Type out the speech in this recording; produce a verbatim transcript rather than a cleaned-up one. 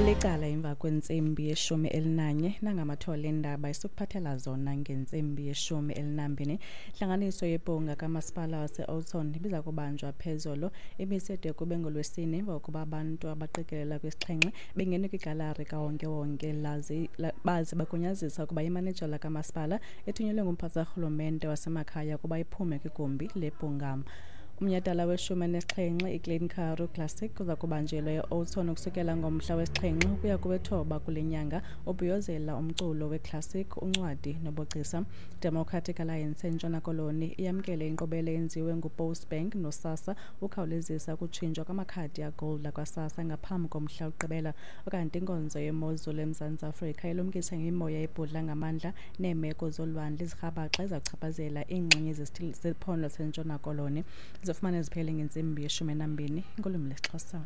Licala emva kwentsimbi yeshumi elinanye nangamathole endaba esikuphathela zona ngentsimbi yeshumi elinambini. Intlanganiso yebhunga kamasipala wase-Oudtshoorn ibiza kubanjwa phezolo ibisede kube ngolwesine emva kokuba abantu abaqikelela kwisixhenxe bengene kwigalari kawonkewonke baze bagunyazisa ukuba imanejala kamasipala ethunyelwe ngumphathiswa karhulumente wasemakhaya ukuba iphume kwigumbi lebhunga. Umnyhadala weshumi elinesixhenxe iClean Karoo Classic uza kubanjelwa e-Oudtshoorn ukusukela ngomhla wesixhenxe ukuya kowethoba kule nyanga, ubhiyozela umculo weclassic, uncwadi nobugcisa. Democratic Alliance eNtshona Koloni iyamkele inkqubela eyenziwe nguPostbank noSASSA ukhawulezisa ukutshintshwa kwamakhadi agold akwaSASSA ngaphambi komhla wokugqibela. Ukanti inkonzo yemozulu eMzantsi Afrika ilumkisa ngemimoya ebhudla ngamandla neemeko zolwandle ezirhabaxa ezichaphazela iingxenye zephondo laseNtshona Koloni. Zifumane ziphele ngentsimbi yeshumi enambini ngolwimi lwesiXhosa.